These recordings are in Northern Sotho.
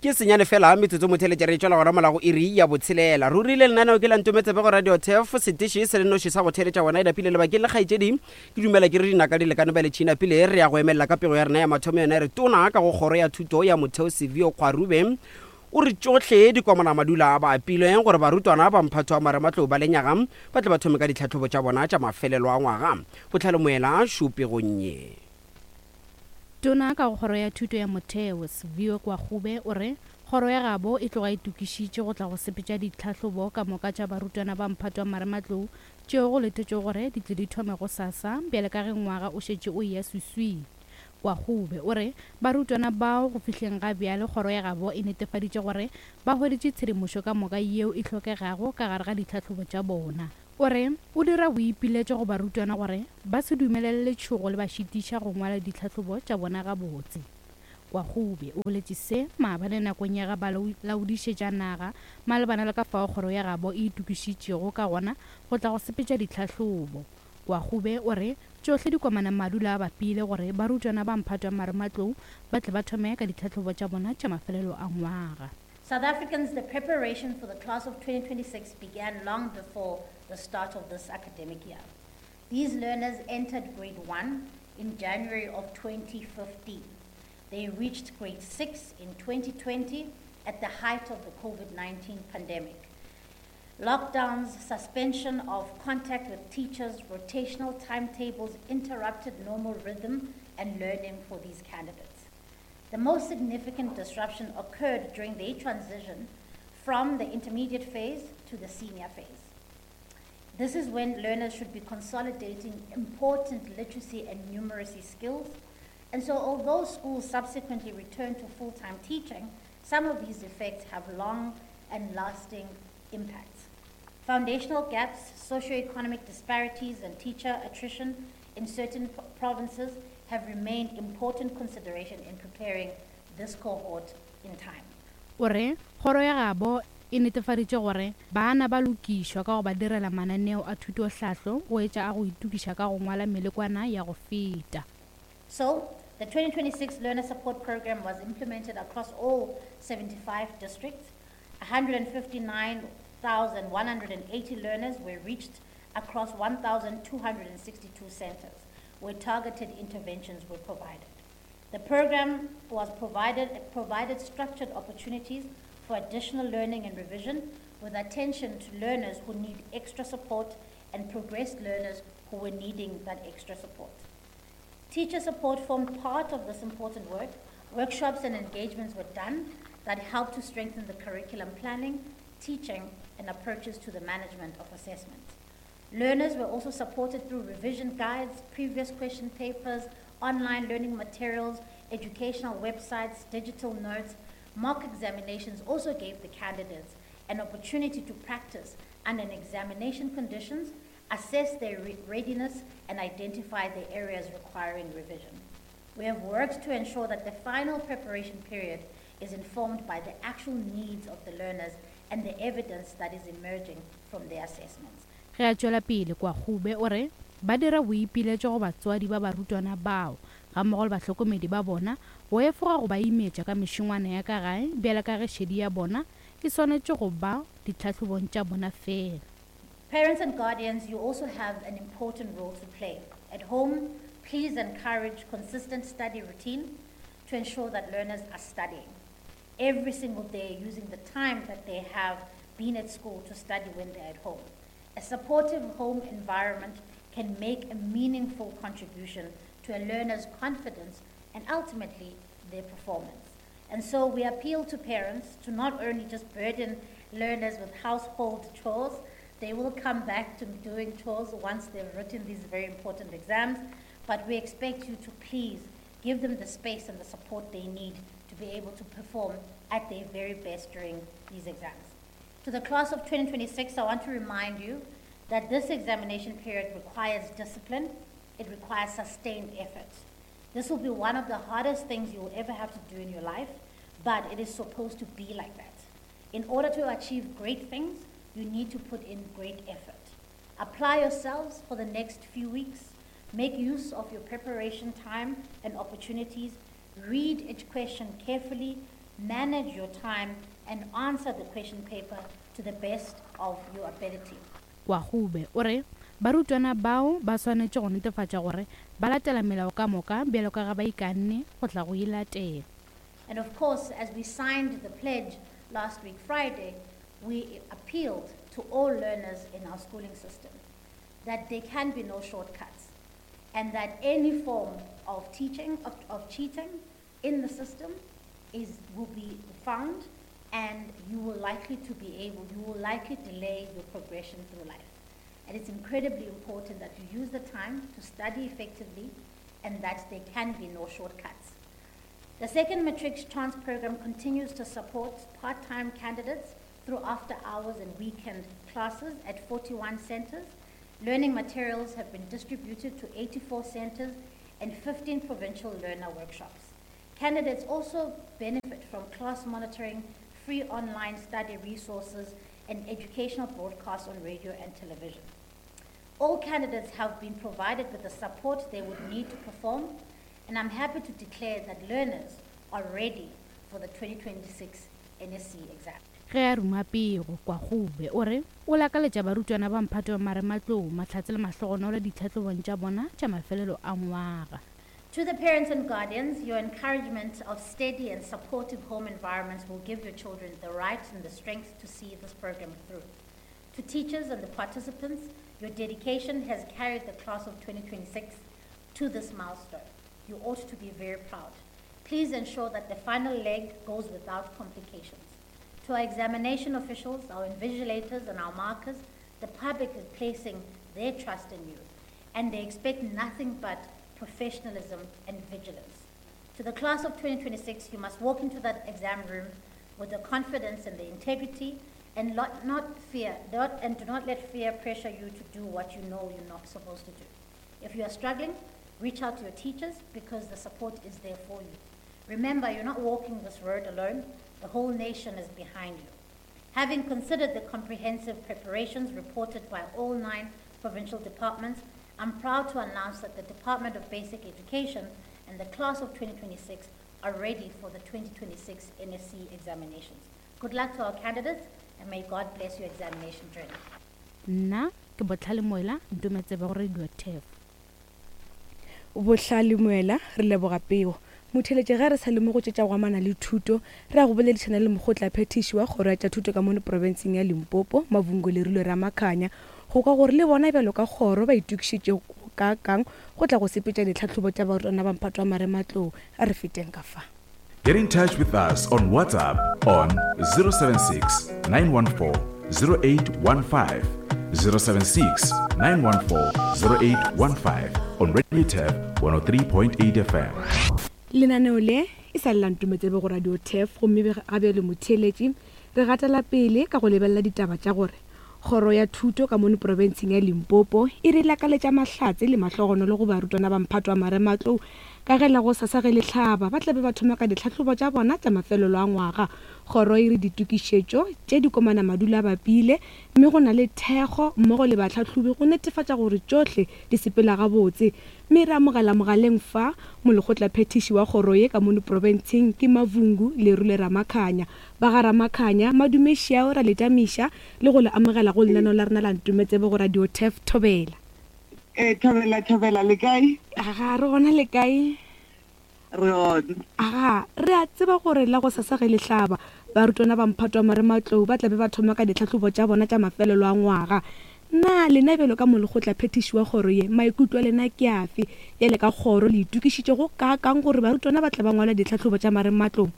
Ke senyane fela metsotso motheletša re tšwela gona mola go iri ya botshelela. Ruri le lenaneo ke la Ntometsebe go Radio Turf, seteše se le noši sa go theletša wena e napile lebakeng le kgaetšedi. Ke dumela ke re dinaka di lekane bjale tšhina pele re ya go emelela ka pego ya rena ya mathomo yona e re tona ka go kgoro ya thuto ya motheo Sevio Kgwarube o re tšohle dikomana madula a ba apilwe gore barutwana ba mphato wa marematlou ba lenyaga ba tle ba thome ka ditlhahlobo tša bona tša mafelelo a ngwaga. Bohlale Moela šo pegong ye. Tona ka go Kgoro ya Thuto ya Motheo, Siviwe Gwarube o re kgoro ya gabo e tloga e tokišitše go tla go sepetša ditlhahlobo ka moka tša barutwana ba mphato wa marematlou tšeo go letetšwego gore di tle di thome gosasa bjale ka ge ngwaga o šetše o eya swiswing. Gwarube o re barutwana bao go fihleng ga bjale kgoro ya gabo e netefaditše gore ba hweditše tshedimošo ka moka yeo e hlokegago ka gare ga ditlhahlobo tša bona. O re o dira boipiletšo go barutwana gore ba se dumelele letšhogo le ba šitiša go ngwala ditlhahlobo tša bona gabotse. Kwagube o boletše se maabane nakong ya ge ba laodišetša naga malebana le ka fao kgoro ya gabo e itokišitšego ka gona go tla go sepetša ditlhahlobo. Kwagube o re tšohle di komana madula a bapile gore barutwana ba mphato wa marematlou ba tle ba thome ka ditlhahlobo tša bona tša mafelelo a ngwaga. South Africans, the preparation for the class of 2026 began long before the start of this academic year. These learners entered grade 1 in January of 2015. They reached grade 6 in 2020 at the height of the COVID 19 pandemic. Lockdowns, suspension of contact with teachers, rotational timetables interrupted normal rhythm and learning for these candidates. The most significant disruption occurred during their transition from the intermediate phase to the senior phase. This is when learners should be consolidating important literacy and numeracy skills. And so, although schools subsequently returned to full time teaching, some of these effects have long and lasting impacts. Foundational gaps, socioeconomic disparities, and teacher attrition in certain provinces have remained important consideration in preparing this cohort in time. O re kgoro ya gabo e netefaditše gore bana ba lokišwa ka go ba direla mananeo a thutohlahlo go etša a go itokiša ka go ngwala melekwana ya go feta. So, the 2026 Learner Support Program was implemented across all 75 districts. 159,180 learners were reached across 1,262 centers where targeted interventions were provided. The program was provided, provided structured opportunities for additional learning and revision with attention to learners who need extra support and progressed learners who were needing that extra support. Teacher support formed part of this important work. Workshops and engagements were done that helped to strengthen the curriculum planning, teaching, and approaches to the management of assessment. Learners were also supported through revision guides, previous question papers, online learning materials, educational websites, digital notes. Mock examinations also gave the candidates an opportunity to practice under examination conditions, assess their re- readiness, and identify the areas requiring revision. We have worked to ensure that the final preparation period is informed by the actual needs of the learners and the evidence that is emerging from their assessments. Ge a tšwela pele, Kwagube o re ba dira boipiletšo go batswadi ba barutwana bao gammogo le bahlokomedi ba bona go efoga go ba imetša ka mešongwana ya ka gae bjale ka ge šedi ya bona e swanetše go ba ditlhahlobong tša bona feela. Parents and guardians, you also have an important role to play. At home, please encourage consistent study routine to ensure that learners are studying every single day using the time that they have been at school to study when they're at home. A supportive home environment can make a meaningful contribution to a learner's confidence and ultimately their performance. And so we appeal to parents to not only just burden learners with household chores, they will come back to doing chores once they've written these very important exams, but we expect you to please give them the space and the support they need to be able to perform at their very best during these exams. To the class of 2026, I want to remind you that this examination period requires discipline, it requires sustained effort. This will be one of the hardest things you will ever have to do in your life, but it is supposed to be like that. In order to achieve great things, you need to put in great effort. Apply yourselves for the next few weeks. Make use of your preparation time and opportunities. Read each question carefully. manage your time, and answer the question paper to the best of your ability. Kwagube o re barutwana bao ba swanetše go netefatša gore ba latela melao ka moka bjalo ka ge ba ikanne go tla go e latela. And of course, as we signed the pledge last week Friday, we appealed to all learners in our schooling system that there can be no shortcuts and that any form of teaching, of, of cheating in the system is, will be found and you will likely to be able, you will likely delay your progression through life. And it's incredibly important that you use the time to study effectively and that there can be no shortcuts. The second Matrics Chance program continues to support part-time candidates through after hours and weekend classes at 41 centers. Learning materials have been distributed to 84 centers and 15 provincial learner workshops. Candidates also benefit from class monitoring, free online study resources, and educational broadcasts on radio and television. All candidates have been provided with the support they would need to perform, and I'm happy to declare that learners are ready for the 2026 NSC exam. Ge a ruma pego, Kwagube o re o lakaletša barutwana ba mphato wa marematlou mahlatse le mahlogonolo ditlhahlobong tša bona tša mafelelo a ngwaga. To the parents and guardians, your encouragement of steady and supportive home environments will give your children the right and the strength to see this program through. To teachers and the participants, your dedication has carried the class of 2026 to this milestone. You ought to be very proud. Please ensure that the final leg goes without complications. To our examination officials, our invigilators, and our markers, the public is placing their trust in you, and they expect nothing but professionalism and vigilance. To the class of 2026, you must walk into that exam room with the confidence and the integrity and not, not fear, not, and do not let fear pressure you to do what you know you're not supposed to do. If you are struggling, reach out to your teachers because the support is there for you. Remember, you're not walking this road alone. The whole nation is behind you. Having considered the comprehensive preparations reported by all nine provincial departments, I'm proud to announce that the Department of Basic Education and the class of 2026 are ready for the 2026 NSC examinations. Good luck to our candidates and may God bless your examination journey. Nna ke Bohlale Moela, Ntometsebe go Radio Turf. Bohlale Moela, re leboga pego. Motheeletši ge re sa le mo go tše tša go amana le thuto, re ya go boledišana le mokgotlaphethiši wa kgoro ya tša thuto ka mono profenseng ya Limpopo, Mavhungo Lerulo Ramakhanya, go kwa gore le bona bjalo ka kgoro ba itokišitše go kaakang go tla go sepetša ditlhahlobo tša barutwana ba mphato wa marematlou. A re feteng ka fa. Get in touch with us on WhatsApp on 076 914 0815, 076 914 0815 on Radio Turf 103.8 FM. Lenaneo le e sa le la Ntometsebe go Radio Turf gomme ga bjale motheeletši re gatela pele ka go lebelela ditaba tša gore Kgoro ya Thuto ka mono profenseng ya Limpopo e re lakaletša mahlatse le mahlogonolo go barutwana ba mphato wa marematlou ka ge la gosasa ge le hlaba ba tla be ba thoma ka ditlhahlobo tša bona tša mafelelo a ngwaga. Kgoro e re ditokišetšo tše di komana madula a bapile mme go na le thekgo mmogo le bahlahlobi go netefatša gore tšohle di sepela gabotse. Mme re amogela mogaleng fa molekgotlaphethiši wa kgoro ye ka mono profenseng ke Mavhungu Lerule Ramakhanya. Ba ga Ramakhanya, madume šiao ra le tamiša le go le amogela go lenaneo la rena la Ntometsebe go Radio Turf Thobela. Ee, Thobela, Thobela, le kae? Aga, re gona le kae? Re gona. Aga, re a tseba gore la gosasa ge le hlaba, barutwana ba mphato wa marematlou ba tla be ba thoma ka ditlhahlobo tša bona tša mafelelo a ngwaga. Na lena bjalo ka molekgotlaphethiši wa kgoro ye, maikutlo a lena ke afe? Bjale ka kgoro, le itokišitše go kaakang gore barutwana ba tla ba ngwala ditlhahlobo tša marematlou?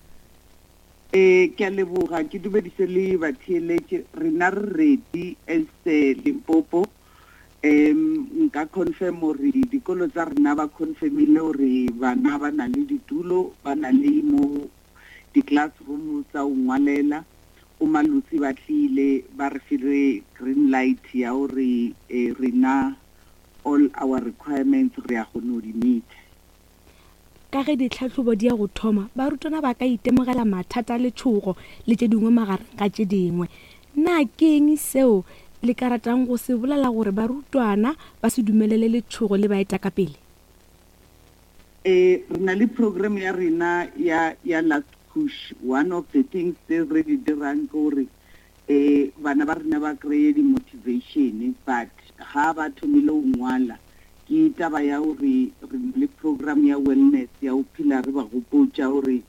Ee, ke a leboga. Ke dumedise le batheeletši. Rena re ready as Limpopo. Um nka confirm gore dikolo tsa rena ba confirmile gore bana ba na le ditulo, ba na le mo di-classroom tsa go ngwalela. Bo Malotsi ba tlile ba re file green light ya gore rena all our requirements re ya kgona go di meet-a. Ka ge ditlhahlobo di ya go thoma, barutwana ba ka itemogela mathata a letšhogo le tše dingwe magareng ga tše dingwe. Na ke eng seo le ka ratang go se bolela gore barutwana ba se dumelele letšhogo le ba eta ka pele? Ee, re na le program ya rena ya, ya last push. One of the things tse re di dirang ke gore um bana ba rena ba kry-e di-motivation, but ga ba thomile go ngwala ke taba ya gore re na le program ya wellness ya go phela re ba gopotša gore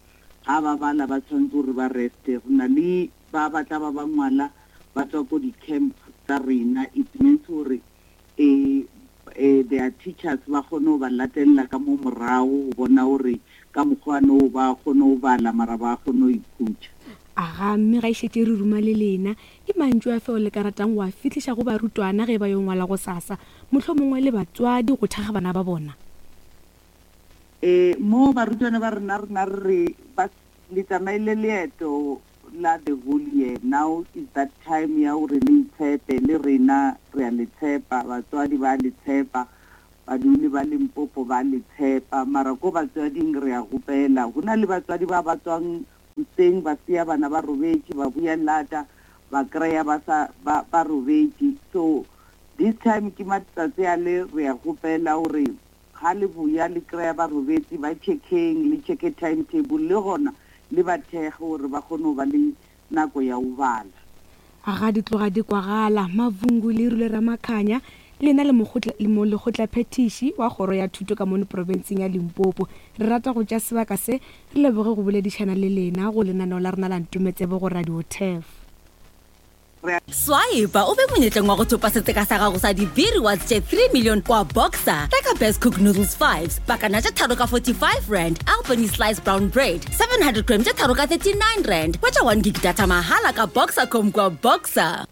ga ba bala ba tshwanetse gore ba reste. Re na le ba ba tla ba ba ngwala ba tswa ko di-camp tsa rena, it means gore um their teachers ba kgone go ba latelela ka mo morago go bona gore ka mokgwa no ba kgone go bala mara ba kgone go ikhutša. Aga, mme ga e šetše re ruma le lena, ke mantšu a feo le ka ratang go a fihliša go barutwana ge ba yo ngwala gosasa, mohlomongwe le batswadi go thekga bana ba bona? Ee, mo barutwana ba rena rena re re ba le tsamaile leeto la the whole year, now is that time ya gore le itshepe, le rena re a le tshepa, batswadi ba le tshepa, baduli ba Limpopo ba le tshepa, mara ko batswading re a gopela. Go na le batswadi ba ba tswang hoseng ba sia bana ba robetše, ba buya lata ba kry-a ba sa ba ba robetše. So this time ke matsatsi a le re a gopela gore ga le boya le kry-a ba robetše, ba checkeng, le checke timetable le gona le ba thekge gore ba kgone go ba le nako ya go bala. Ga di tloga di kwagala, Mavungu le Rile Ramakhanya le yena le molekgotlaphethiši wa kgoro ya thuto ka mono profenseng ya Limpopo. Re rata go tšea sebaka se re leboge go boledišana le lena go lenaneo la rena la Ntometsebe go Radio Turf. Swipe o be monyetleng wa go thopa setseka sa gago sa di-B-rewards tše 3 million kwa Boxer. Reka Best Cook Noodles 5s, pakana tše tharo ka 45 rand, Albany Slice Brown Bread, 700 gram tše tharo ka 39 rand. Hwetša 1 gig data mahala ka Boxercom kwa Boxer.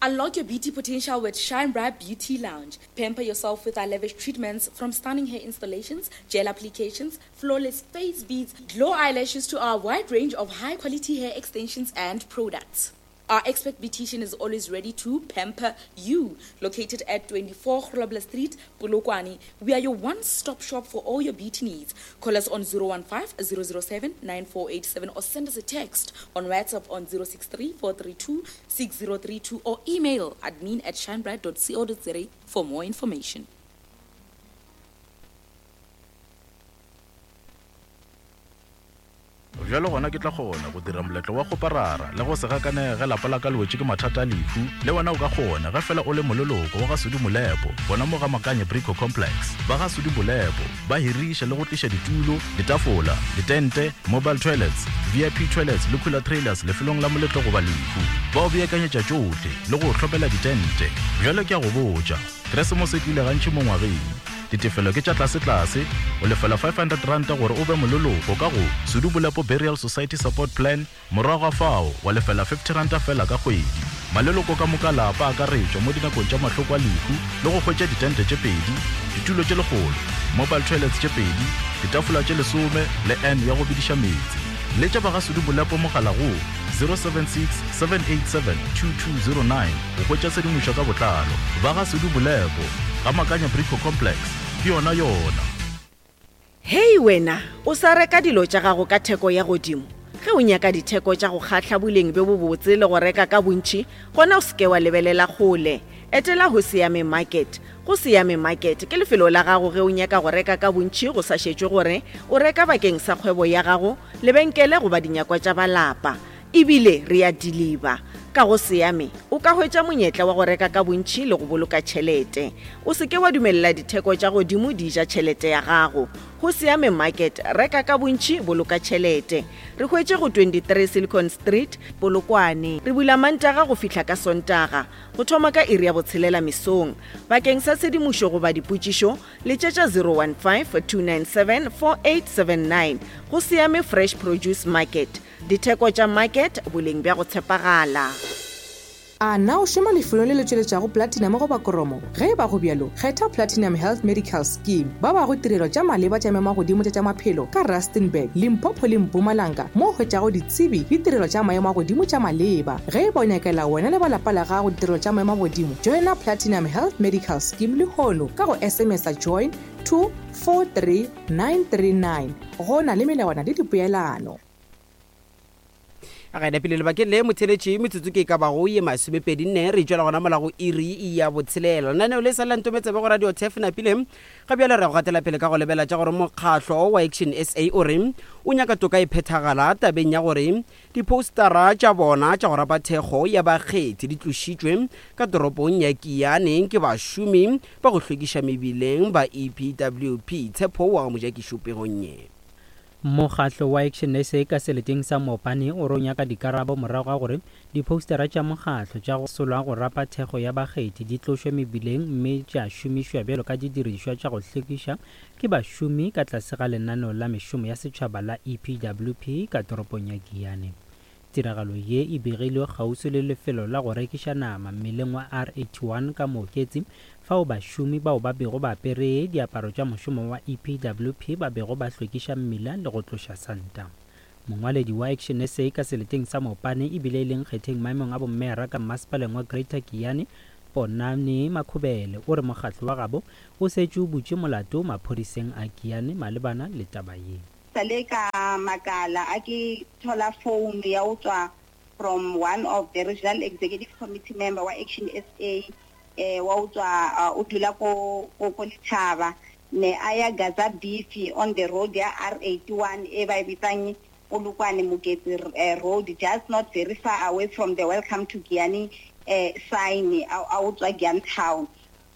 Unlock your beauty potential with Shine Bright Beauty Lounge. Pamper yourself with our lavish treatments from stunning hair installations, gel applications, flawless face beads, glow eyelashes to our wide range of high quality hair extensions and products. Our expert beautician is always ready to pamper you. Located at 24 Grobler Street, Polokwane, we are your one-stop shop for all your beauty needs. Call us on 015 007 9487 or send us a text on WhatsApp on 063 432 6032 or email admin at shinebright.co.za for more information. Bjalo gona ke tla kgona go dira moletlo wa kgoparara le go se gakanege ge lapa la ka le wetše ke mathata a lehu. Le wena o ka kgona ge fela o le moleloko wa ga Sudi Molepo gona mo ga Makanye Brico Complex. Ba ga Sudi Molepo ba hiriša le go tliša ditulo, ditafola, ditente, mobile toilets, VIP toilets le cooler trailers lefelong la moletlo goba lehu. Ba o beakanyetša tšohle le go o hlomela ditente. Bjale ke a go botša, Keresemose e tlile gantši mo ngwageng. Ditefelo ke tša tlasetlase, o lefela R500 gore o be moleloko ka go Sudu Bolepo Burial Society Support Plan, morago ga fao wa lefela R50 feela ka kgwedi. Maleloko ka moka a lapa a akaretšwa mo dinakong tša mahloko a lehu le go hwetša ditente tše pedi, ditulo tše lekgolo, mobile toilets tše pedi, ditafola tše lesome le urn ya go bediša meetse. Letša ba ga Sudu Bolepo mogala go 076 787 2209 go hwetša tshedimošo ka botlalo. Ba ga Sudu Bolepo, Ga Makanya Brico Complex, ke yona yona. Hei wena, o sa reka dilo tša gago ka theko ya godimo? Ge o nyaka ditheko tša go kgahla, boleng bjo bobotse le go reka ka bontši, gona o se ke wa lebelela kgole. Etela Hoseyame Market. Hoseyame Market ke lefelo la gago ge o nyaka go reka ka bontši go sa šetšwe gore o reka bakeng sa kgwebo ya gago, lebenkele goba dinyakwa tša ba lapa. E bile re a diliba. Ka go Seame, o ka hwetša monyetla wa go reka ka bontši le go boloka tšhelete. O se ke wa dumelela ditheko tša godimo di ja tšhelete ya gago. Go Seame Market, reka ka bontši, boloka tšhelete. Re hwetše go 23 Silicon Street, Polokwane. Re bula Mantaga go fihla ka Sontaga, go thoma ka iri ya botshelela mesong. Bakeng sa tshedimošo goba dipotšišo, letšetša 015 297 4879. Go Seame Fresh Produce Market. Ditheko tša market, boleng bja go tshepagala. A na o šoma lefelong le le tšweletšago platinum goba kromo? Ge e ba go bjalo, kgetha Platinum Health Medical Scheme. Ba bago tirelo tša maleba tša maemo-a-godimo tša tša maphelo ka Rustenburg, Limpopo le Mpumalanga mo o hwetšago ditsebi le tirelo tša maemo a godimo tša maleba. Ge e ba o nyakela wena le ba lapa la gago ditirelo tša maemo a godimo, joina Platinum Health Medical Scheme lehono ka go SMS-a join to 43939. Go na le melawana le dipoelano. Ga e napile lebakeng le motheletši metsotso ke e ka bago ye masomepedi nne re tšwela gona mola go iri ya botshelela. Lenaneo le sa le la Ntometsebe go Radio Turf napile ga bjale re go gatela pele ka go lebela tša gore mokgahlo wa Action SA o re o nyaka toka e phethagala tabeng ya gore diphoustara tša bona tša go rapa thekgo ya bakgethi di tlošitšwe ka toropong ya Giyani ke bašomi ba go hlwekiša mebileng ba EPWP. Tshepo wa ga Mojakišo pegong ye. Mokgatlo wa Action SA ka seleteng sa Mopani o re o nyaka dikarabo morago ga gore diphoustara tša mokgatlo tša go solwa go rapa thekgo ya bakgethi di tlošwe mebileng mme tša šomišwa bjalo ka didirišwa tša go hlwekiša ke bašomi ka tlase ga lenaneo la mešomo ya setšhaba la EPWP ka toropong ya Giyani. Tiragalo ye e begilwe kgauswi le lefelo la go rekiša nama mmeleng wa R81 ka Mooketsi, fao bašomi bao ba bego ba apere diaparo tša mošomo wa EPWP ba bego ba hlwekiša mmila le go tloša santa. Mongwaledi wa Action SA ka seleteng sa Mopane e bile e le nkgetheng maemong a bommeyara ka mmasepaleng wa Greater Giyani, Ponani Makhubele, o re mokgatlo wa gabo o setše o butše molato maphodiseng a Giyani malebana le taba ye. Sale ka makala a ke thola phone ya go tswa from one of the regional executive committee member wa Action SA eh, wa go tswa o dula ko ko ko Lethaba ne a ya Gaza Beef on the road ya R81 e ba e bitsang Polokwane Moketsi road just not very far away from the welcome to Giyani eh, sign a a go tswa Giyani town.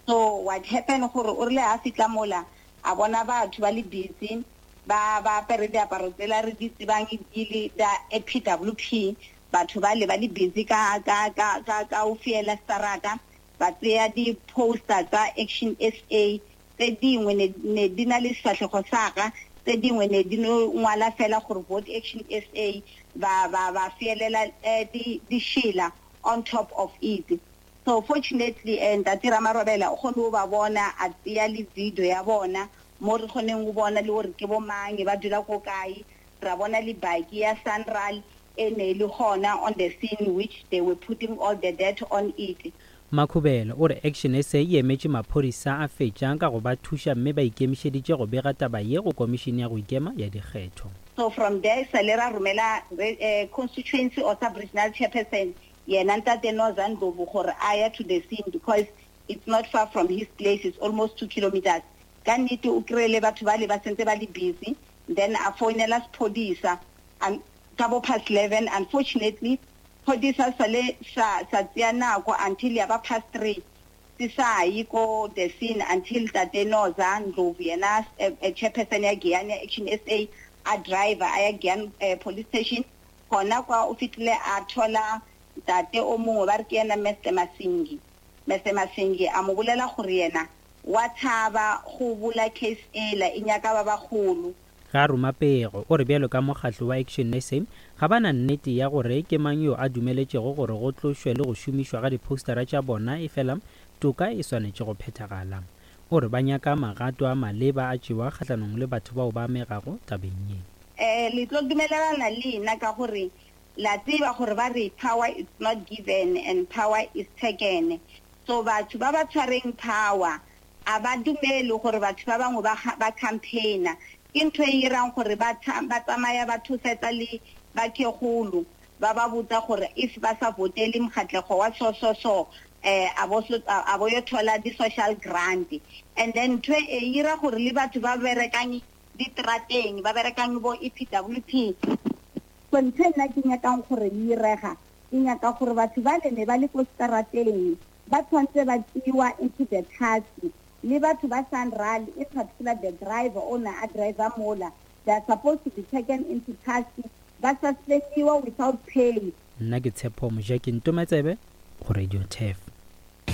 So what happened gore o rile ha fitla mola a bona batho ba le busy ba ba apere diaparo tsela re di tsebang di le tsa EPWP, batho bale ba le busy ka ka ka ka ka go fiela starata, ba tseya di poster tsa Action SA, tse dingwe ne ne di na le sefahlego sa ka, tse dingwe ne di no ngwala fela gore vote Action SA, ba ba ba fielela di dišela on top of it. So fortunately Ntate Ramarobela o kgone go ba bona a tseya le video ya bona mo re kgoneng go bona le gore ke bo mang, ba dula ko kae, ra bona le baki ya Sanral e ne e le gona on the scene which they were putting all the dirt on it. Makhubele o re Action SA e emetše maphodisa a fetša ka go ba thuša mme ba ikemišeditše go bega taba ye go Komišene ya go Ikema ya Dikgetho. So from there sale ra romela constituency or sub-regional chairperson yena Ntate Noza Ndlovu gore a ya to the scene because it's not far from his place, it's almost 2 kilometers. Ka nnete o kry-ile batho bale ba sentse ba le busy, then a founela sephodisa ka bo past 11. Unfortunately, phodisa sale sa sa tseya nako until ya ba past 3 se sa ye ko the scene until Tate Noza Ndlovu yena chairperson ya Giyani ya Action SA a driver a ya Giyani police station. Gona kwa o fihlile a thola ntate o mongwe ba re ke yena Mister Masingi. Mister Masingi a mo bolela gore yena wa thaba go bula case ela e nyaka ba bagolo. Ge a ruma pego, o re bjalo ka mokgatlo wa Action SA, ga ba na nnete ya gore ke mang yo a dumeletšego gore go tlošwe le go šomišwa ga diphoustara tša bona efela toka e swanetše go phethagala. O re ba nyaka magato a maleba a tšewa kgahlanong le batho bao ba amegago tabeng ye. Le tlo dumelelana le nna ka gore la tseba gore ba re power is not given and power is taken. So batho ba ba tshwareng power a ba dumele gore batho ba bangwe ba ba campaigner. Ke ntho e irang gore ba ba tsamaya ba thosetsa le bakhegolo ba ba botsa gore if ba sa votele mokgatlego wa so so so a bo a bo yo thola di social grant. And then ntho e ira gore le batho ba berekang diterateng ba berekang bo EPWP. So ntho e nna ke nyakang gore e irega, ke nyaka gore batho ba le ne ba le ko seterateng ba tshwanetse ba tseiwa into the task, le batho ba Sanral, in particular the driver o ne a driver mola, they are supposed to be taken into task, ba suspendiwa without pay. Nna ke Tshepo Mojaki Ntometsebe go Radio Turf.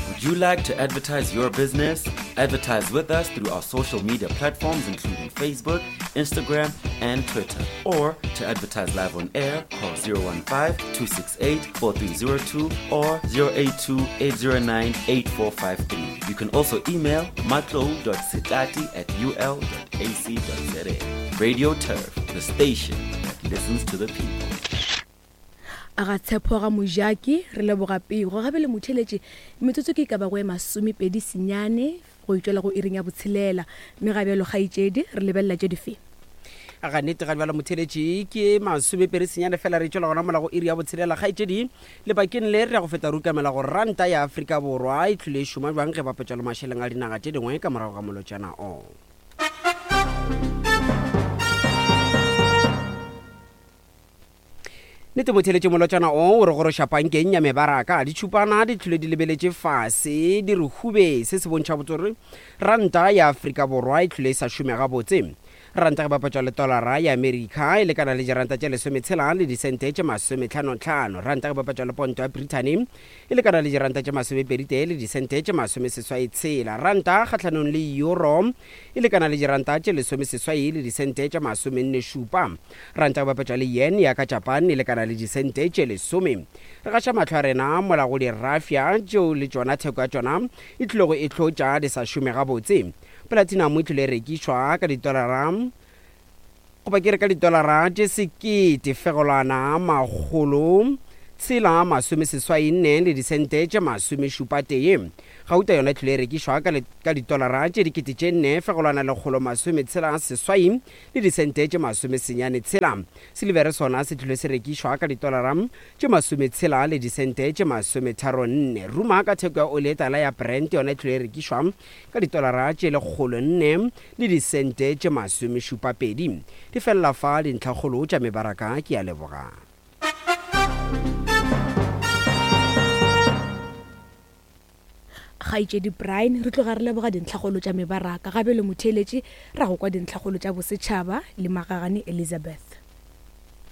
Would you like to advertise your business? Advertise with us through our social media platforms including Facebook, Instagram, and Twitter. Or to advertise live on air, call 015-268-4302 or 082-809-8453. You can also email matlo.sitati at ul.ac.za. Radio Turf, the station that listens to the people. A ga Tshepo ga Mojaki, re leboga pego. Gape le motheeletši, metsotso ke e ka bago e masomepedi senyane go itšwela go iring ya botshelela. Mme ga bjalo kgaetšedi, re lebelela tše dife? Ga nnete ga bjalo motheletši ke masomepedi senyane fela re tšwela gona mola go iri ya botshelela. Kgaetšedi, lebakeng le re ya go feta re ukamela gore ranta ya Afrika Borwa e tlile e šoma bjang ge bapetšwa le mašeleng a dinaga tše dingwe ka morago ga molotšana o. Nnete motheletši molotšana o o re goroša pankeng ya mebaraka. Ditšhupana di tlhole di lebeletše fase di re hube. Se se bontšha botse gore ranta ya Afrika Borwa e tlhole e sa šome gabotse. Ranta ge bapatšwa le tolara ya Amerika e lekana le diranta tše lesometshela le disente tše masometlhanotlhano. Ranta ge bapatšwa le ponto ya Brithani e lekana le diranta tše masomepeditee le disente tše masomeseswaitshela. Ranta kgahlanong le euro e lekana le diranta tše lesomeseswai le disente tše masomennešupa. Ranta go bapetšwa le yen ya ka Japan e lekana le disente tše lesome. Re gaša mahlo a rena mola go dirafya tšeo le tšona theko ya tšona e tlilego e hlotša di sa šome gabotse. Platinum e tlile e rekišwa ka ditolara goba ke re ka ditolara tše sekete fegelwana makgolo tshela 64 le disente tše masomešupatee. Gauta yona e tlile e rekišwa ka, ka ditolara tše dikete tše nne fegelwana lekgolo masometshela seswai le disente tše masomesenyane tshela. Silivere sona se tlile se rekišwa ka ditolara tše masometshela le disente tše masometharonne. Ruma ka theko ya oli e tala ya Brent yona e tlile e rekišwa ka ditolara tše 104 le disente tše masomešupapedi. Di felela fa dintlhakgolo tša mebaraka. Ke a leboga. Kgaetšedi Brian, re tloga re leboga dintlhakgolo tša mebaraka. Ga bjale motheeletši ra go kwa dintlhakgolo tša bosetšhaba le Magagane Elizabeth.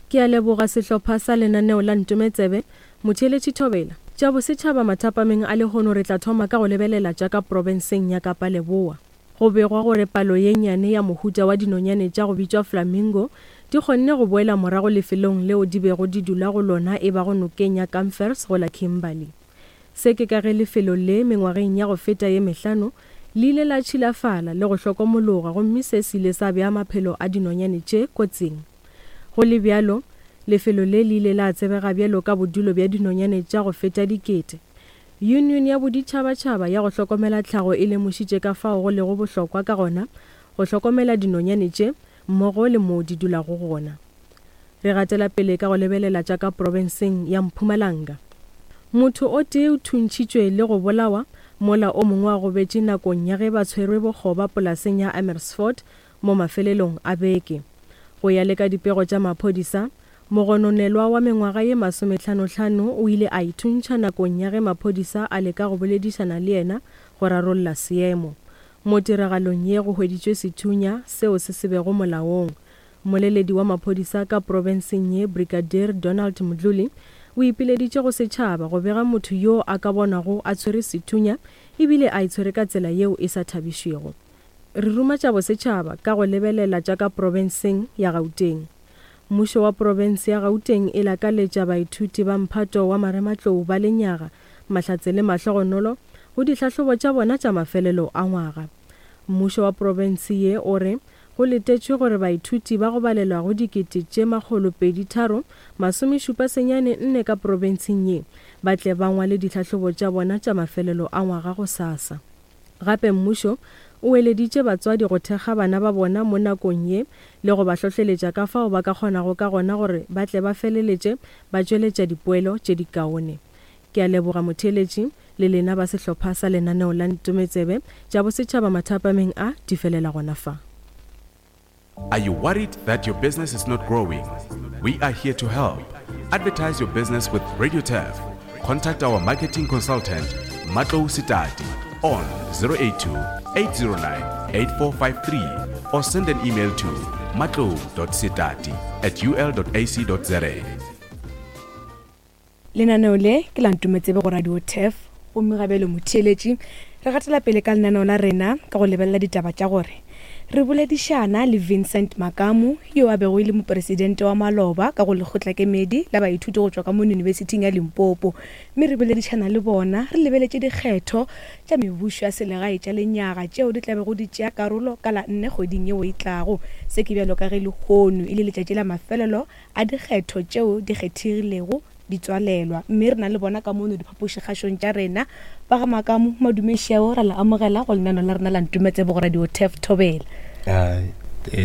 Ke a leboga sehlopha sa lenaneo la Ntometsebe, Motheeletši Thobela. Tša bosetšhaba mathapameng a lehono re tla thoma ka go lebelela tša ka profenseng ya Kapa Leboa. Go begwa gore palo ye nnyane ya mohuta wa dinonyane tša go bitšwa flamingo di kgonne go boela morago lefelong leo di bego di dula go lona e bago nokeng ya Kamfers go la Kimberley. Se ke ka ge lefelo le mengwageng ya go feta ye mehlano le ile la tšhilafala le go hlokomologa gomme se se ile sa bea maphelo a dinonyane tše kotsing. Go le bjalo, lefelo le le ile la tsebega bjalo ka bodulo bja dinonyane tša go feta dikete. Yunione ya Boditšhabatšhaba ya go Hlokomela Tlhago e lemošitše ka fao go lego bohlokwa ka gona go hlokomela dinonyane tše mmogo le moo di dulago gona. Re gatela pele ka go lebelela tša ka profenseng ya Mpumalanga. Motho o tee o thuntšhitšwe le go bolawa mola o mongwe a gobetše nakong ya ge ba tshwerwe bokgoba polaseng ya Amersfoort mo mafelelong a beke. Go ya le ka dipego tša maphodisa, mogononelwa wa mengwaga ye masomehlanohlano o ile a ithuntšha nakong ya ge maphodisa a leka go boledišana le yena go rarolla seemo. Mo tiragalong ye go hweditšwe sethunya seo se se bego molaong. Mmoleledi wa maphodisa ka profenseng ye Brigadier Donald Mdluli o ipileditše go setšhaba go bega motho yo a ka bonwago a tshwere sethunya ebile a itshwere ka tsela yeo e sa thabišego. Re ruma tša bosetšhaba ka go lebelela tša ka profenseng ya Gauteng. Mmušo wa profense ya Gauteng e lakaletša baithuti ba mphato wa marematlou ba lenyaga, mahlatse le mahlogonolo go dihlahlobo tša bona tša mafelelo a ngwaga. Mmušo wa profense ye o re go letetšwe gore baithuti ba go balelwago 2034 74 ka profenseng ye ba tle ba ngwale dihlahlobo tša bona tša mafelelo a ngwaga gosasa. Gape mmušo o eleditše batswadi go thekga bana ba bona mo nakong ye le go ba hlohleletša ka fao ba ka kgonago ka gona gore ba tle ba feleletše ba tšweletša dipoelo tše dikaone. Ke a leboga motheeletši le lena ba sehlopha sa lenaneo la Ntometsebe tša Bosetšhaba mathapameng a di felela gona fa. Are you worried that your business is not growing? We are here to help. Advertise your business with Radio Turf. Contact our marketing consultant, Matlo Sitati, on 082 809 8453 or send an email to matlo.sitati at ul.ac.za. Lenaneo le ke la Ntometsebe go Radio Turf gomme ga bjale motheeletši re gatela pele ka lenaneo la rena ka go lebelela ditaba tša gore re boledišana le Vincent Makamu yo a bego e le mopresidente wa maloba ka go lekgotlakemedi la baithuti go tšwa ka mo Yunibesithing ya Limpopo mme re boledišana le bona re lebeletše dikgetho tša mebušo ya selegae tša lenyaga tšeo di tla bego di tšea karolo ka la nne kgweding yeo e tlago. Se ke bjalo ka ge lehono e le letšatši la mafelelo a dikgetho tšeo di kgethegilego di tswalelwa, mme re na le bona ka mono diphapošikgašong tša rena. Ba ga Makamu, madume šeo, ra le amogela go lenano la rena la Ntumetsebo go Radio Turf Thobela.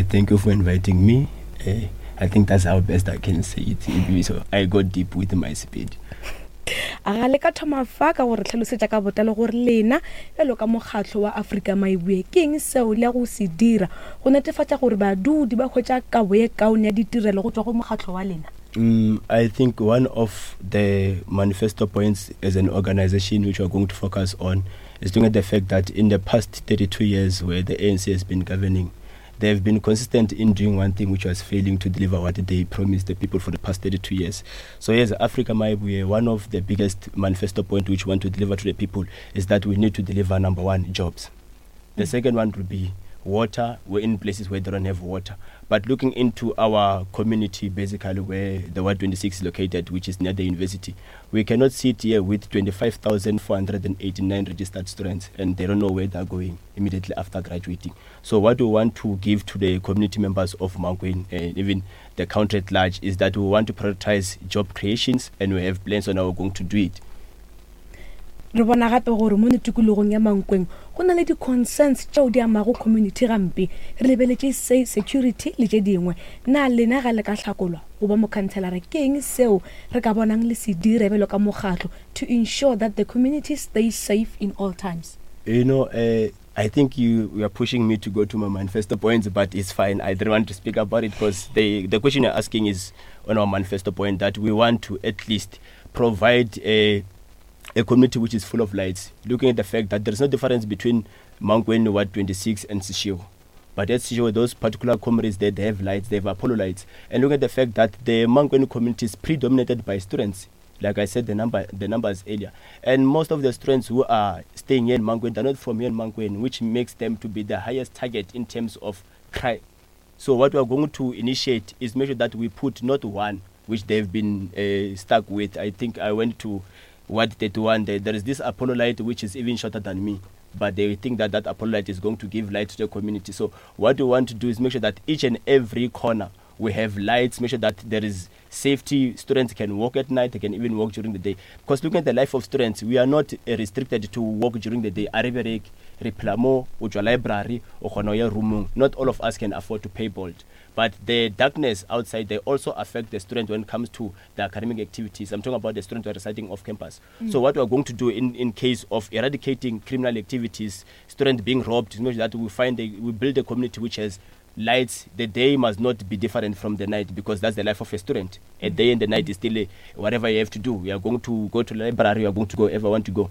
Thank you for inviting me. I think that's how best I can say it. So I go deep with my Sepedi. A ga le ka thoma fa ka go re hlalosetša ka botlalo gore lena bjalo ka mokgatlo wa Afrika Maibue ke eng seo le ya go se dira go netefatša gore badudi ba hwetša kabo ye kaone ya ditirelo go tšwa go mokgatlo wa lena? Mm, I think one of the manifesto points as an organization which we are going to focus on is looking at the fact that in the past 32 years where the ANC has been governing, they have been consistent in doing one thing, which was failing to deliver what they promised the people for the past 32 years. So yes, Africa Mayibuye, one of the biggest manifesto point which we want to deliver to the people is that we need to deliver, number one, jobs. The second one would be water. We're in places where they don't have water. But looking into our community, basically where the Ward 26 is located, which is near the university, we cannot sit here with 25,489 registered students and they don't know where they're going immediately after graduating. So what we want to give to the community members of Mankweng and even the country at large is that we want to prioritize job creations, and we have plans on how we're going to do it. Re bona gape gore mono tikologong ya Mankweng go na le di-concerns tšeo di amago community gampe, re lebeletše se security le tše dingwe. Na lena ga le ka hlakolwa go ba mokhanselara ke eng seo re ka bonang le se dira bjalo ka mokgatlo to ensure that the community stays safe in all times? You know, uh, I think you, you are pushing me to go to my manifesto points, but it's fine. I don't want to speak about it because the, the question you're asking is on our manifesto point that we want to at least provide a, a community which is full of lights, looking at the fact that there is no difference between Mankweng Ward 26 and Seshego. But at Seshego, those particular comrades there, they have lights, they have Apollo lights. And look at the fact that the Mankweng community is predominated by students. Like I said, the number the numbers earlier. And most of the students who are staying here in Mankweng, they're not from here in Mankweng, which makes them to be the highest target in terms of crime. So what we are going to initiate is make sure that we put not one, which they've been uh, stuck with. I think I went to Ward 31. There, there is this Apollo light which is even shorter than me. But they think that that Apollo light is going to give light to the community. So what we want to do is make sure that each and every corner we have lights, make sure that there is safety. Students can walk at night, they can even walk during the day. Because looking at the life of students, we are not eh, restricted to walk during the day. A re bereke, re phela mo, o tšwa library, o kgona go ya roomong. Not all of us can afford to pay Bolt. But the darkness outside, they also affect the student when it comes to the academic activities. I'm talking about the students who are residing off campus. Mm. So what we are going to do in, in case of eradicating criminal activities, students being robbed, to make sure that we find a, we build a community which has lights the day must not be different from the night because that's the life of a student a day and the night is still a, whatever you have to do you are going to go to the library you are going to go ever want to go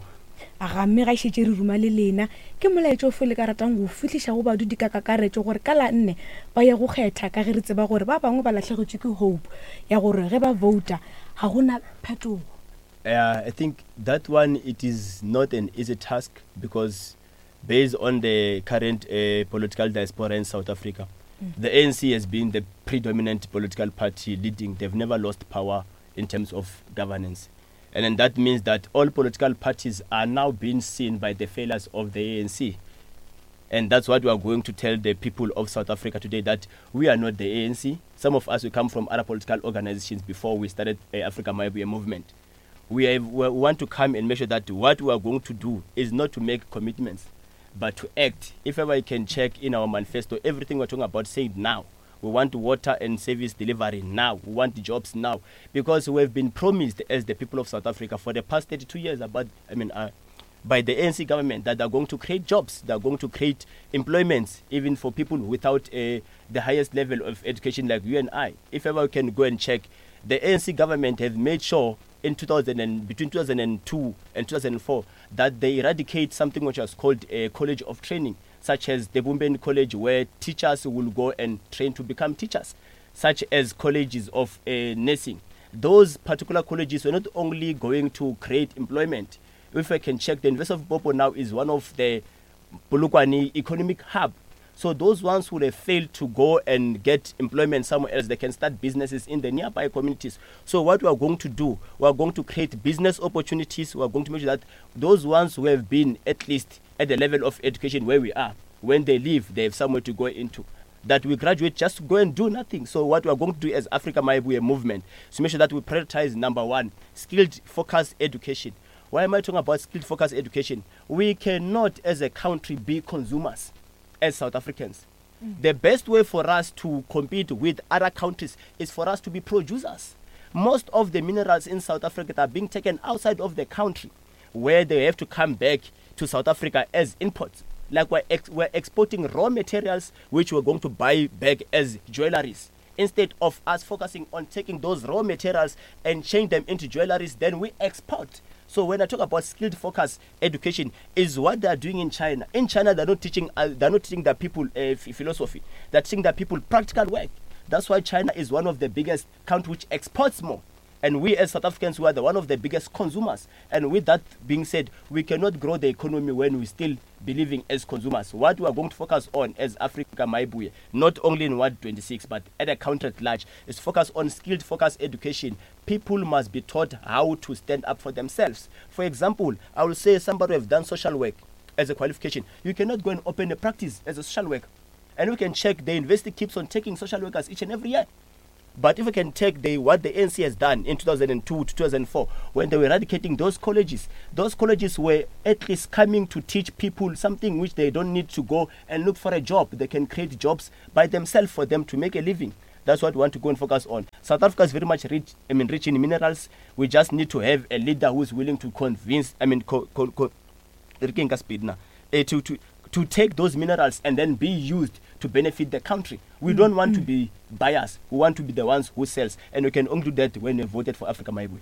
aga mme ga šetše re ruma le lena ke molaetša ofe le ka ratang go fihliša go badudi ka kakaretšo gore ka la nne ba ye go kgetha ka ge re tseba gore ba bangwe ba lahlegetšwe ke hope ya gore ge ba vouta ga go na phetogo uh, I think that one it is not an easy task because based on the current uh, political diaspora in South Africa, mm. the ANC has been the predominant political party leading. They've never lost power in terms of governance. And then that means that all political parties are now being seen by the failures of the ANC. And that's what we are going to tell the people of South Africa today that we are not the ANC. Some of us, we come from other political organizations before we started uh, Africa Mayibuye movement. We, have, we want to come and make sure that what we are going to do is not to make commitments, but to act. If ever you can check in our manifesto, everything we're talking about, say it now. We want water and service delivery now. We want jobs now. Because we have been promised as the people of South Africa for the past 32 years about, I mean, uh, by the ANC government that they're going to create jobs, they're going to create employments, even for people without uh, the highest level of education like you and I. If ever we can go and check, the ANC government have made sure in 2000 and, between 2002 and 2004 that they eradicate something which was called a college of training, such as the Bumbeni College, where teachers will go and train to become teachers, such as colleges of uh, nursing. Those particular colleges were not only going to create employment. If I can check, the University of Popo now is one of the Polokwane economic hub. So those ones who have failed to go and get employment somewhere else, they can start businesses in the nearby communities. So what we are going to do, we are going to create business opportunities. We are going to make sure that those ones who have been at least at the level of education where we are, when they leave, they have somewhere to go into. That we graduate just to go and do nothing. So what we are going to do as Africa Mayibuye movement is to make sure that we prioritize number one, skilled focused education. Why am I talking about skilled focused education? We cannot as a country be consumers as South Africans. The best way for us to compete with other countries is for us to be producers. Most of the minerals in South Africa are being taken outside of the country, where they have to come back to South Africa as imports. Like we're, ex- we're exporting raw materials which we're going to buy back as jewelries. Instead of us focusing on taking those raw materials and change them into jewelries, then we export. So when I talk about skilled focus education, is what they are doing in China. In China, they're not teaching they're not teaching the people philosophy. They're teaching the people practical work. That's why China is one of the biggest countries which exports more. And we as South Africans, we are the one of the biggest consumers. And with that being said, we cannot grow the economy when we're still believing as consumers. What we are going to focus on as Africa Mayibuye, not only in Ward 26, but at a country at large, is focus on skilled focus education. People must be taught how to stand up for themselves. For example, I will say somebody who have done social work as a qualification. You cannot go and open a practice as a social worker. And we can check the university keeps on taking social workers each and every year. But if we can take the, what the ANC has done in 2002 to 2004, when they were eradicating those colleges, those colleges were at least coming to teach people something which they don't need to go and look for a job. They can create jobs by themselves for them to make a living. That's what we want to go and focus on. South Africa is very much rich, I mean, rich in minerals. We just need to have a leader who is willing to convince, I mean, co- co- co- to, to, to take those minerals and then be used to benefit the country. We don't want to be buyers. We want to be the ones who sells. And we can only do that when we voted for Africa Mayibuye.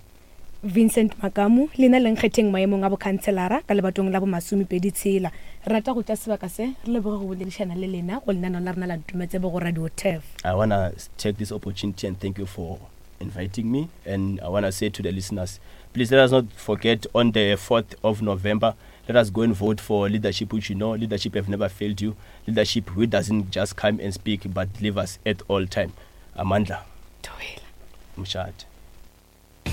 Vincent Makamu lena le nkgetheng maemong a bokhanselara ka lebatong la bomasomepedi tshela. Re rata go tša sebaka se re leboge go boledišana le lena go lenaneo la rena la Ntumetsebe go Radio Turf. I want to take this opportunity and thank you for inviting me. And I want to say to the listeners, please let us not forget on the 4th of November, let us go and vote for leadership which you know, leadership have never failed you, leadership who doesn't just come and speak but delivers at all time. Amandla. Mshad.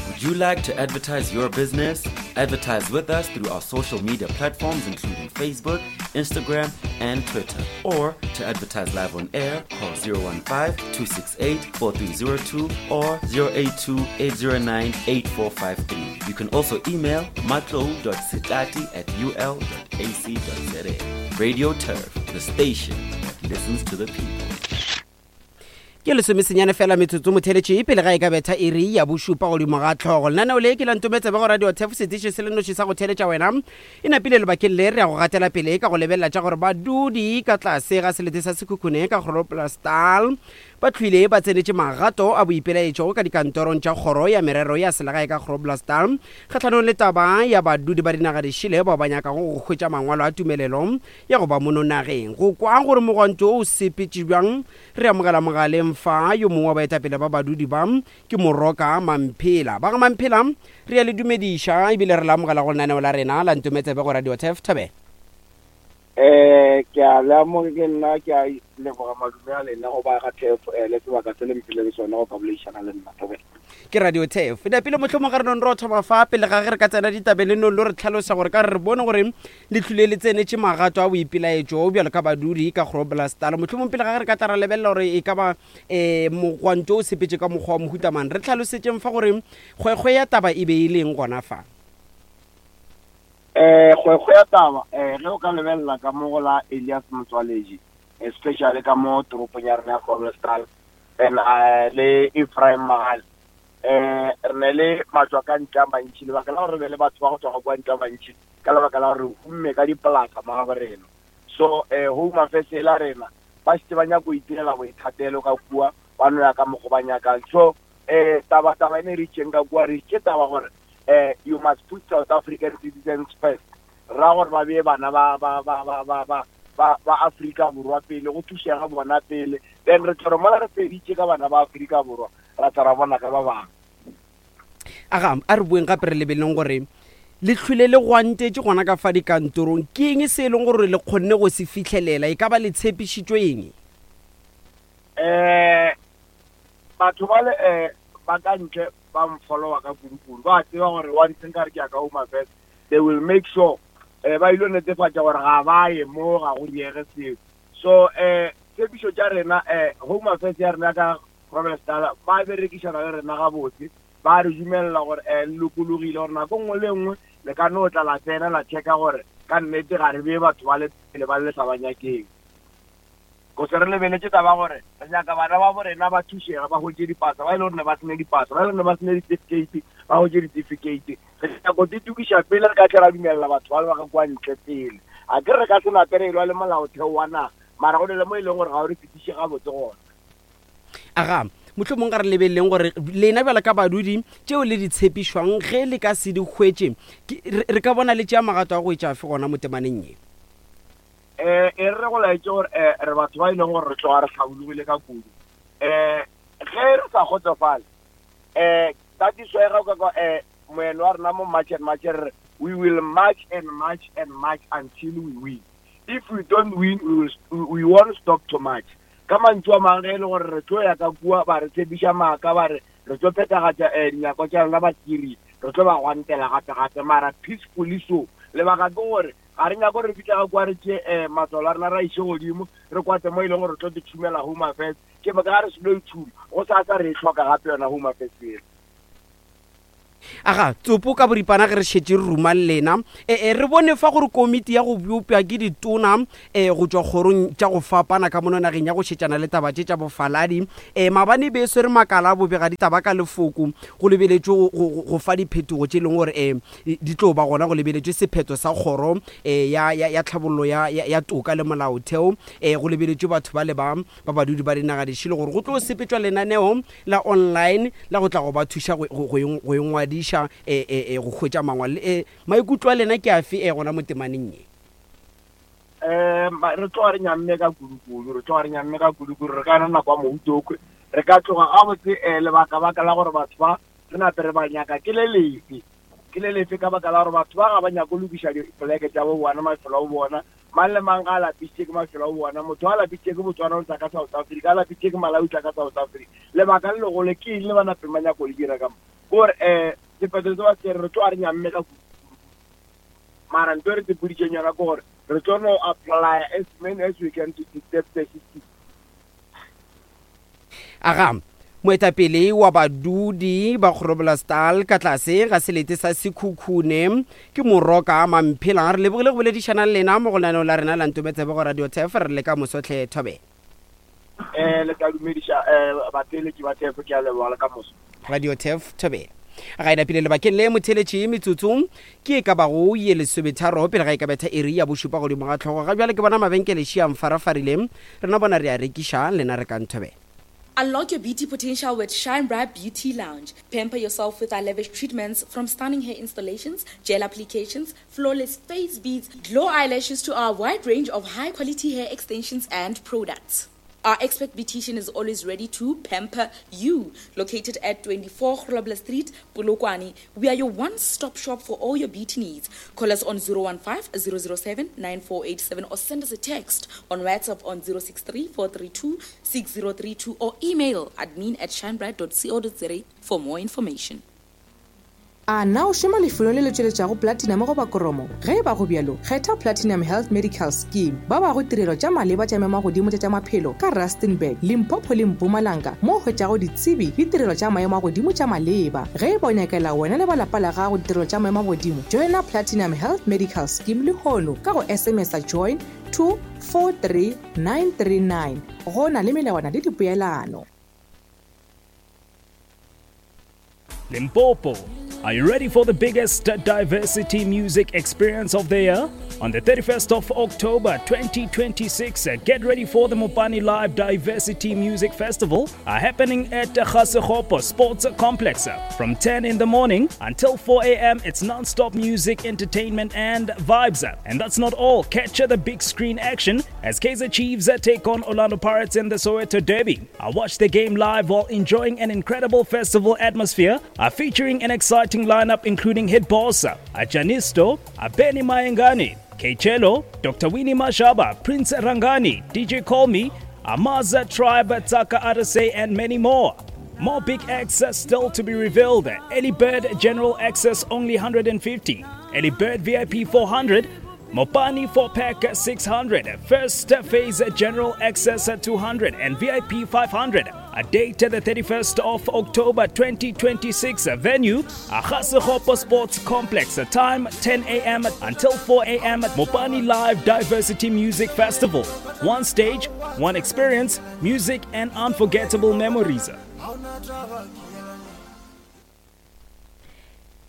Would you like to advertise your business? Advertise with us through our social media platforms, including Facebook, Instagram, and Twitter. Or to advertise live on air, call 015 268 4302 or 082 809 8453. You can also email matlo.sitati at ul.ac.za. Radio Turf, the station that listens to the people. Ke lesomesenyane fela metsotso motheletše pele ga e ka betha iri ya bošupa godimo ga tlhogo. Lenaneo le ke la Ntometsebe go Radio Tef, setiši se le noši sa go theletša wena. E napile lebakeng le re ya go gatela pele ka go lebelela tša gore badudi ka tlase ga selete sa Sekhukhune ka Groblersdal ba hlwile ba tsenetše magato a boipelaetšo ka dikantorong tša kgoro ya merero ya selegae ka Groblersdal kgahlanong le taba ya badudi ba dinaga dišele bao ba nyakago go hwetša mangwalo a tumelelo ya go ba mono nageng. Go kwa gore mogwanto o sepetše bjang, Re amogela mogaleng fa yo mongwe wa baetapele ba badudi ba ke Moroka Mamphela. Ba ga Mamphela, re a le dumediša ebile re le amogela go lenaneo la rena la Ntometsebe go Radio Turf. Thabela. Eh, ke a le amoge ke nna ke a leboga madume a lena go ba ga Turf eh, le sebaka se le mphileng sona go ka boledišana le nna. Thobela. Ke Radio Turf. Napile mohlomong ga re nong ro thoma fa pele ga ge re ka tsena ditabeng le nong lo re tlhalosa gore ka re re bone gore Le hlwile le tsenetše magato a boipelaetšo bjalo ka badudi ka Groblersdal. Mohlomong pele ga ge re ka tla ra lebelela gore e ka ba um mogwanto o sepetše ka mokgwa wa mohuta mang, re hlalosetšeng fa gore kgwekgwe ya taba e be e le eng gona fa. Um kgwekgwe ya taba um ge o ka lebelela ka mo go la Elias Motswaledi, especially ka mo toropong ya rena ya Groblersdal and le Ephraim Mogale, um re ne le matšwa ka ntle a mantši. Lebaka la gore re be le batho ba go tšwa kwa ntle a mantši ka lebaka la gore re humme ka dipolasa mo gabo rena. So um Home Affairs e la rena ba šetše ba nyaka go itirela boithatelo ka kua, ba no ya ka mokgo ba nyakang. So um taba taba e ne re itšeng ka kua, re itše taba gore um you must put South African citizens first. Re ra gore ba bee bana ba ba ba ba ba ba ba ba Afrika Borwa pele, go thušega bona pele. Then re tlo re mola re feditše ka bana ba Afrika Borwa, ra tla ra bona ka ba bangwe. Aga, a re boeng gape re lebeleleng gore le hlwile le gwantetše gona ka fa dikantorong. Ke eng se e leng gore le kgonne go se fihlelela? E ka ba le tshepišitšwe eng? Um batho ba le um ba ka ntle ba mfollowa ka kudu-kudu, ba tseba gore once nka re ke ya ka Home Affairs, they will make sure um ba ile netefatša gore ga ba ye mo, ga go diege seo. So um tshepišo tša rena um Home Affairs ya rena ka Groblersdal ba berekišana le rena gabotse, ba re dumelela gore um le lokologile gore nako nngwe le nngwe le ka no tla la tsena la checka gore ka nnete ga re bee batho ba le pele ba le sa ba nyakeng. Kose re lebeletše taba ya gore re nyaka bana ba bo rena ba thušege ba hwetše dipasa, ba e le gore ne ba se ne dipasa, ba e le gore ne ba se ne ditifikheiti ba hwetše ditifikheiti. Re nyaka go di tukiša pele re ka tle ra dumelela batho ba ba ka kwa ntle pele. A ke re re ka se nape re elwa le molaotheo wa naga, mara go ne le mo e leng gore ga o re fetiše gabotse gona. Aga, mohlomong ga re lebeleleng gore lena bjalo ka badudi tšeo le di tshepišwang ge le ka se di hwetše, re ka bona le tšea magato a go etša afe gona mo temaneng ye? Um e re go laetše gore um re batho ba e leng gore re tloga re hlabologile ka kudu. Um ge re sa kgotsofale, um that is why ga o ka kwa um moeno wa rena mo March and March re re we will march and march and march until we win. If we don't win, we, will, we won't stop to march. Ka mantšu a mangwe ge e le gore re tlo ya ka kua ba re tshepiša maaka ba re re tlo phethagatša um dinyakwa tša rena ba kiri re tlo ba gwantela gape-gape mara peacefully so. Lebaka ke gore Ga re nyake gore re fihle ga kua re tšee um matswalo a rena ra iše godimo, re kwate mo e leng gore re tlo di tšhumela Home Affairs. Ke moka ga re seno e tšhuma, gosasa re e hloka gape yona Home Affairs yela. Aga, Tsopo ka boripana ge re šetše re ruma le lena, e, re bone fa gore komiti ya go bopša ke ditona e, go tšwa kgorong tša go fapana ka mono nageng ya go šetšana le taba tše tša bofaladi e, maabane e be e swere makala a bobegaditaba ka lefoko go lebeletšwe go, go, go fa diphetogo tše e leng gore e, di tlo ba gona go lebeletšwe sephetho sa kgoro eh, ya, ya, ya tlhabollo ya, ya, ya toka le molaotheo eh, go lebeletšwe batho ba le ba ba badudi ba dinaga dišele gore go tlo sepetšwa lenaneo la online la go tla go ba thuša go, go, go, go ingwadiša eh, eh, eh, go hwetša mangwalo. Eh, maikutlo a lena ke afe eh, gona mo temaneng ye? Um re tloga re nyamme ka kudu-kudu, re tloga re nyamme ka kudu-kudu, re ka yona nako ya moutokwe re ka tloga gabotse um lebaka-baka la gore batho ba re nape re ba nyaka ke le lefe? Ke le lefe ka baka la gore batho ba ga ba nyake go lokiša dipoleke tša bo bona, mafelo a bo bona. Mang le mang ga a lapišitše ke mafelo a bo bona. Motho a lapišitše ke Botswana o tla ka South Africa, a lapišitše ke Malawi o tla ka South Africa. Lebaka le legolo ke eng le ba napeng ba nyaka go le dira ka mo? Ke gore um sephetho se ba se tšere re tloga re nyamme ka kudu. Mara ntho e re tsepoditšeng yona ke gore re tlo no apply as many as we can to disturb the system. Aga, moetapele wa badudi ba Groblersdal ka tlase ga selete sa Sekhukhune ke Moroka Mamphela. Re lebogile go boledišana le lena mo go lenaneo la rena la Ntometsebe go Radio Turf. Re le ka moso hle Thobela. Eh, le tla dumediša eh, batheeletši ba Turf, ke a leboga le ka moso. Radio Turf Thobela. Ga e napile lebakeng le motheletši metsotso ke e ka bago ye lesometharo pele ga e ka betha iri ya bošupa godimo ga tlhogo. Ga bjale ke bona mabenkele šia mfarafarile. Rena bona re a rekiša, lena re ka Thobela. Unlock your beauty potential with Shine Bright Beauty Lounge. Pamper yourself with our lavish treatments from stunning hair installations, gel applications, flawless face beads, glow eyelashes to our wide range of high quality hair extensions and products. Our expert beautician is always ready to pamper you. Located at 24 Grobler Street, Polokwane, we are your one-stop shop for all your beauty needs. Call us on 015 007 9487 or send us a text on WhatsApp on 063 432 6032 or email admin at shinebright.co.za for more information. A na o šoma lefelong le le tšweletšago platinum goba koromo? Ge e ba go bjalo, kgetha Platinum Health Medical Scheme. Ba bago tirelo tša maleba tša memagodimo tša tša maphelo ka Rustenburg, Limpopo le Mpumalanga mo o hwetšago ditsebi le tirelo tša maemo a godimo tša maleba. Ge e ba o nyakela wena le ba lapa la gago ditirelo tša maemo a godimo, joina Platinum Health Medical Scheme lehono ka go SMS-a join to 43939. Go na le melawana le dipoelano. Limpopo. Are you ready for the biggest diversity music experience of the year? On the 31st of October 2026, get ready for the Mopani Live Diversity Music Festival happening at Ga-Sekgopo Sports Complex from 10 in the morning until 4 a.m. It's non-stop music, entertainment and vibes. And that's not all. Catch the big screen action as Kaizer Chiefs take on Orlando Pirates in the Soweto Derby. I watch the game live while enjoying an incredible festival atmosphere, featuring an exciting lineup including Hit Boss, Ajanisto, Benny Mayengani, Kechelo, Dr. Winnie Mashaba, Prince Rangani, DJ Call Me, Amaza Tribe, Taka Arase, and many more. More big acts are still to be revealed. Ellie Bird General Access only 150, Ellie Bird VIP 400, Mopani 4 pack 600, first phase general access 200 and VIP 500. A date the 31st of October 2026. Venue Ga-Sekgopo Sports Complex. Time 10 a.m. until 4 a.m. Mopani Live Diversity Music Festival. One stage, One experience, music, and unforgettable memories.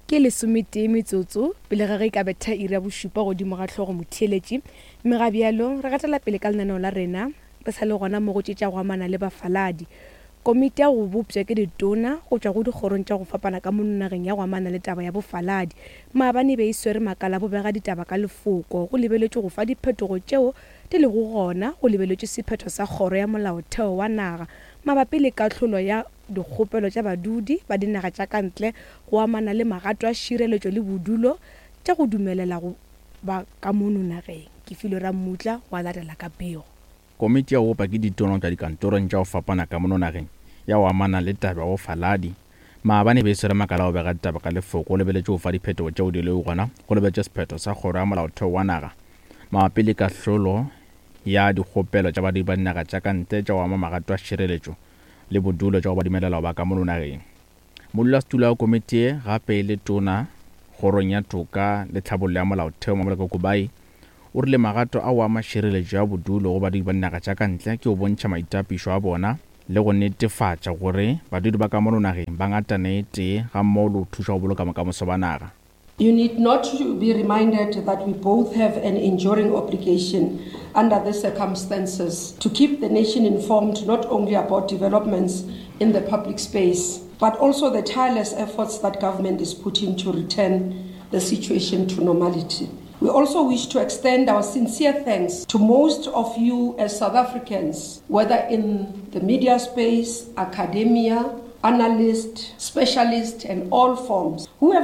Ke lesometee metsotso pele ga ge e ka betha iri ya bošupa godimo ga hlogo motheeletši, mme ga bjalo re gatela pele ka lenaneo la rena re sa le gona mo go tše tša go amana le bafaladi. Komiti ya go bopša ke ditona go tšwa go dikgorong tša go fapana ka mono nageng ya go amana le taba ya bofaladi maabane e be e swere makala a bobega ditaba ka lefoko go lebeletšwe go fa diphetogo tšeo di lego gona go lebeletšwe sephetho sa kgoro ya molaotheo wa naga mabapi le kahlolo ya dikgopelo tša badudi ba dinaga tša ka ntle go amana le magato a šireletšo le bodulo tša go dumelela go ba ka mono nageng. Ke filwe Rammutla go a latela ka pego. Komiti ya go bopa ke ditono tša dikantorong tša go fapana ka mono nageng ya go amana le taba ya bofaladi maabane e be e swere makala a go bega ditaba ka lefoko go lebeletše go fa diphetogo tšeo di lego gona go lebeletše sephetho sa kgoro ya molaotheo wa naga mabapi le kahlolo ya dikgopelo tša badudi ba dinaga tša ka ntle tša go ama magato a šireletšo le bodulo tša go ba dumelela go ba ka mono nageng. Modulasetulo wa komiti ye gape e le tona kgorong ya toka le tlhabollo ya molaotheo Mamoloko Kubayi o rile magato ao a ama šireletšo ya bodulo go badudi ba dinaga tša ka ntle ke go bontšha maitapišo a bona le go netefatša gore badudi ba ka mono nageng ba ngatana e tee gammogo le go thuša go boloka bokamoso ba naga. You need not to be reminded that we both have an enduring obligation under the circumstances to keep the nation informed not only about developments in the public space, but also the tireless efforts that government is putting to return the situation to normality. We also wish to extend our sincere thanks to most of you as South Africans, whether in the media space, academia, analysts, specialists, and all forms, who have